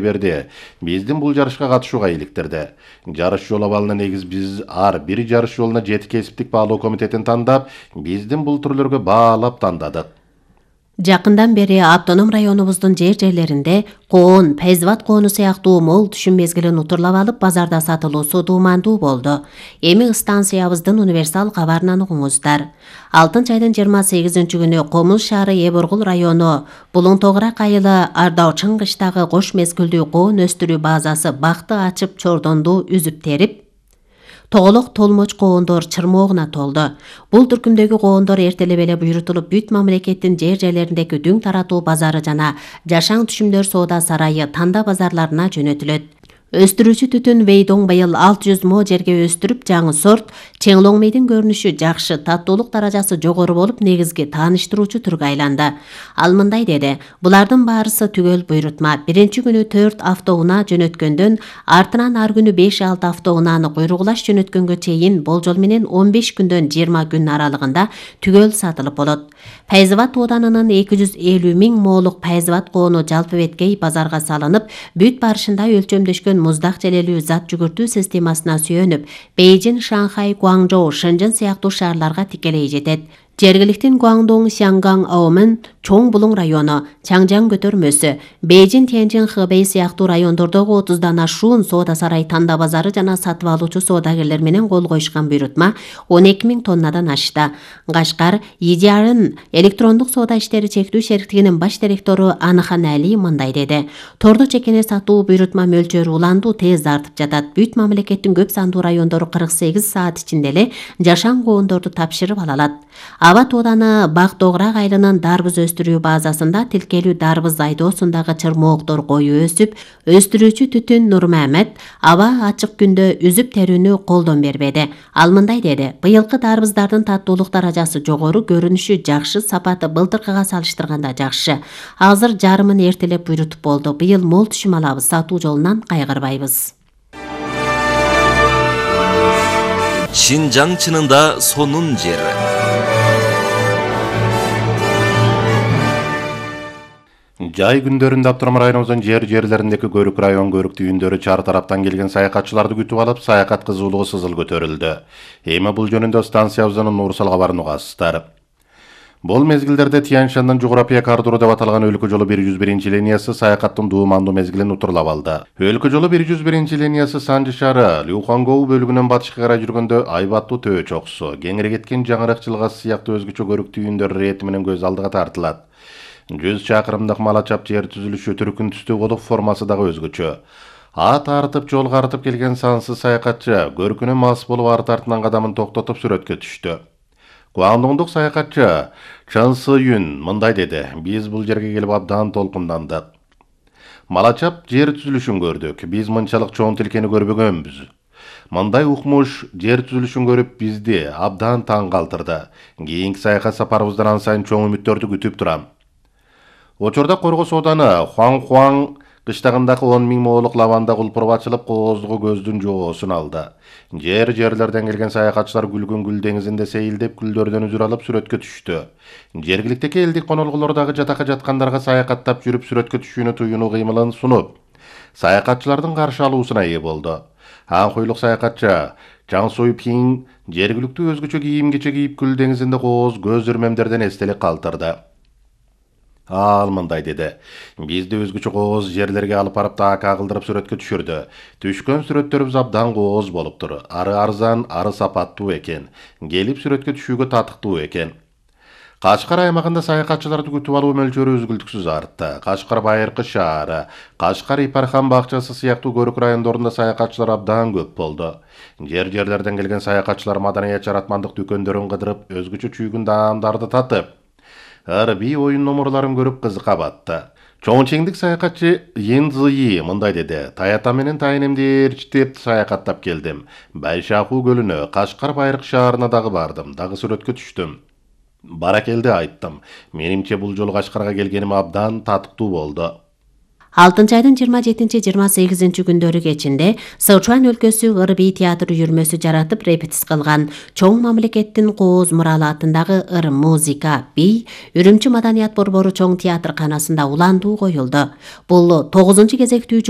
берди. Биздин бул жарышка катышууга иликтирди. Жарыш жол абалына негиз биз ар бир жарыш жолуна 7 кесиптик баалоо комитетин тандап, биздин бул түрлөргө баалап тандадык. Жакындан бери автоном районубуздун жерлеринде коон, пейзават коону сыяктуу мол түшүм мезгилин утурлап алып, базарда сатылуусу дуумандуу болду. Эми станциябыздын универсал кабарынан угуңуздар. Алтынчы айдын 28-күнү Комуз шаары Эборгул району Булуң Тогурак айылы Ардаучын кыштагы кош мезгилдүү коон өстүрүү базасы бакты ачып чордонду үзүп терип, тоголок толмоч коондор чырмоогуна толду. Бул түркүмдөгү коондор эртелеп эле буйрутулуп, бүт мамлекеттин жерлериндеги дүң таратуу базары жана жашаң түшүмдөр соода сарайы танда базарларына жөнөтүлөт. Өстүрүүчү түтүн Вейдоң быйыл 600 мо жерге өстүрүп, жаңы сорт Чеңлоңмейдин көрүнүшү жакшы, таттуулук даражасы жогору болуп, негизги тааныштыруучу түргө айланды. Ал мындай деди: "Булардын баарысы түгөл буйрутма. Биринчи күнү 4 автоунаа жөнөткөндөн, артынан ар күнү 5-6 автоунааны куйругулаш жөнөткөнгө чейин болжол менен 15 күндөн 20 күн аралыгында түгөл сатылып болот. Пейзават оданынын 250 000 моолук пейзават коону жалпы беткей базарга салынып, бүт барышында өлчөмдөшкөн муздак желелүү зат жүгүртүү системасына сүйөнүп, Бейжин, Шанхай, Гуаңжоу, Шэньчжэн сыяктуу шаарларга тикелей жетет. Жергиликтин Гуаңдоң, Сянган, Аомен, Чоң Булуң району, Чаңжаң көтөрмөсү, Бейжин, Тяньжин, Хэбэй сыяктуу райондордогу 30дан ашуун соода сарай танда базары жана сатып алуучу соодагерлер менен кол коюшкан буйрутма 12 000 тоннадан ашты. Кашкар, Идиарын электрондук соода иштери чектүү шериктигинин баш директору Аныхан Али мындай деди: "Торду чекене сатуу буйрутма мөлчөрү уланду тез артып жатат. Бүт мамлекеттин көп сандуу райондору 48 саат ичинде эле жашаң коондорду тапшырып ала алат. Аба тооданы Бак Тогурак айылынын дарбыз өстүрүү базасында тилкелүү дарбыз айдоосундагы чырмооктор кою өсүп, өстүрүүчү түтүн Нурмамед аба ачык күндө үзүп терүүнү колдон бербеди. Ал мындай деди: "Быйылкы дарбыздардын таттуулук даражасы жогору, көрүнүшү жакшы, сапаты былтыркыга салыштырганда жакшы. Азыр жарымын эртелеп буйрутуп болду. Быйыл мол түшүм алабыз, сатуу жолунан кайгырбайбыз." Шинжаң чынында сонун жер. Жай күндөрүндө автоном районубуздун жерлериндеги көрүк район көрүк түйүндөрү чар тараптан келген саякатчыларды күтүп алып, саякат кызуулугу сызыл көтөрүлдү. Эми бул жөнүндө станциябыздын Нурсал кабарын угасыздар. Бул мезгилдерде Тянь-Шаньдын жуграпия коридору деп аталган өлкө жолу 101 линиясы саякаттын дуумандуу мезгилин утурлап алды. Өлкө жолу 101 линиясы Санжы шаары Люхангоу бөлүгүнөн батышка карай жүргөндө айбаттуу төбө чокусу, кеңири кеткен жаңырак жылгасы сыяктуу өзгөчө көрүк түйүндөр рети менен көз алдыга тартылат. 100 чакырымдык малачап жер түзүлүшү түркүн түстүү болуп, формасы дагы өзгөчө. Ат артып, жол картып келген сансыз саякатчы көркүнө мас болуп арты артынан кадамын токтотуп сүрөткө түштү. Гуаңдоңдук саякатчы Чан Сы-юн мындай деди: "Биз бул жерге келип абдан толкундандык. Малачап жер түзүлүшүн көрдүк. Биз мынчалык чоң тилкени көрбөгөнбүз. Мындай укмуш жер түзүлүшүн көрүп бизди абдан таң калтырды. Кийинки саякат сапарыбыздан ан сайын чоң үмүттөрдү күтүп турам." Учурда Корго сооданы Хуаң кыштагындагы 10 000 моолук лаванда кулпуруп ачылып, кооздугу көздүн жоосун алды. Жерлерден келген саякатчылар Гүлгүн гүл деңизинде сейилдеп, гүлдөрдөн үзүр алып сүрөткө түштү. Жергиликтеги элдик конолгулор дагы жатакка жаткандарга саякаттап жүрүп сүрөткө түшүүнү туюнуу кыймылын сунуп, саякатчылардын каршы алуусуна ээ болду. Ан хуйлук саякатчы Чан Суй-пин жергиликтүү өзгөчө кийим-кече кийип гүл деңизинде кооз көз ирмемдерден эстелик калтырды. Ал мындай деди: "Бизди өзгөчө кооз жерлерге алып барып таакка кылдырып сүрөткө түшүрдү. Түшкөн сүрөттөрүбүз абдан кооз болуптур. Ары арзан, ары сапаттуу экен. Келип сүрөткө түшүүгө татыктуу экен." Кашкар аймагында саякатчыларды күтүп алуу мөлчөрү үзгүлтүксүз артты. Кашкар Байыркы шаары, Кашкар Ипархан бакчасы сыяктуу көрүк райондорунда саякатчылар абдан көп болду. Жерлерден келген саякатчылар маданият жаратмандык дүкөндөрүн кыдырып, өзгөчө чүйгүн даамдарды татып, ырби оюн номурларын көрүп кызыка батты. Чоңчеңдик саякатчы Ен Зыйи мындай деди: "Таята менен тайынемди ээрчитип саякаттап келдим. Байшакуу көлүнө, Кашкар Байыркы шаарына дагы бардым, дагы сүрөткө түштүм. Баракелди айттым. Менимче бул жолу Кашкарга келгеним абдан татыктуу болду." 6 айдын 27-28 күндөрү кечинде Сычуан өлкөсү ырби театр үйүрмөсү жаратып репетис кылган чоң мамлекеттин кооз муралаатындагы ыр музыка бий Үрүмчү маданият борбору чоң театрканасында уландуу коюлду. Бул 9 кезектүү